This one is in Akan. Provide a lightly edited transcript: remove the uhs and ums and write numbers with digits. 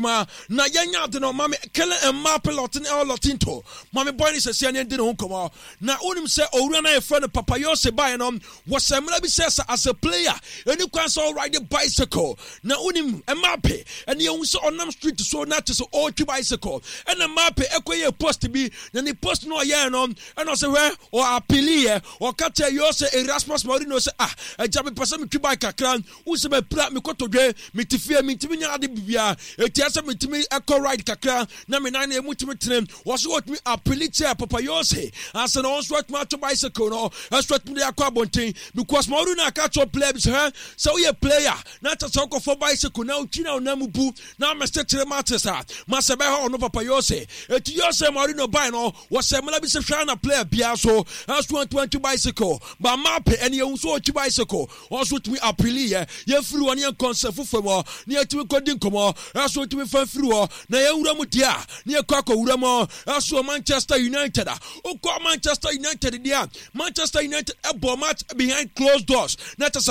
adwuma na yɛnya ade no. Mame Kylian Mbappe Lottin El Lottinto, mame boy ne sɛsia ne ndi ne ho nkɔmmɔ. Na wonim sɛ owura no a yɛfrɛ no Papa Yose baeɛ no, wɔhyɛ mmara bi sɛ sɛ as a player ɛni kwan sɛ ɔride bicycle. Na wonim Mbappe ɛne yɛhu sɛ ɔnam street so na kyɛ sɛ ɔretwi bicycle. Ɛna Mbappe ɛkɔyɛ post bi, na ne post no ɔyɛɛ no ɛna ɔsɛ hwɛ ɔapiliɛ, ɔka kyerɛ Yose Erasmus Mourinho sɛ ah agya, mepɛ sɛ metwi bike kakra, wo sɛ mapira mekɔtɔdwe, mete fie mentumi nya ade bibia, ɛtia sɛ metumi ɛkɔ ride kakra na me nan no ɛmu tumi tene. Wɔ so wɔtumi apili kyɛ Papa Yose ansa na wɔn nso atumi ato bicycle no ɛso atumi de akɔ abɔnten, because Mourinho aka kyerɛ player bi sɛ hɛ sɛ woyɛ player na kyɛ sɛ wokɔfɔ bicycle na wotwi na wonam mu bu na amɛsɛ kyerɛ matches a masɛ bɛhɔ ɔno Papa Yose. Eti Yose Mourinho bae no, wɔhyɛ mmara bi sɛ hwɛ na player biara so ɛso antumi antwi bicycle ba Mbappe ɛne yɛhu so ɔtwi bicycle, wɔn nso tumi apili yɛ. Yɛmfiri hɔ ne yɛnkɔ nsɛ foforɔ mu ne yɛtumi kɔdi nkɔmmɔ ɛso tumi fa mfiri hɔ na yɛnwura mu deɛ a ne yɛkɔ akɔwura mu ɛso Manchester United a wokɔ Manchester United deɛ a, Manchester United ɛbɔ match behind closed doors na kyɛ sɛ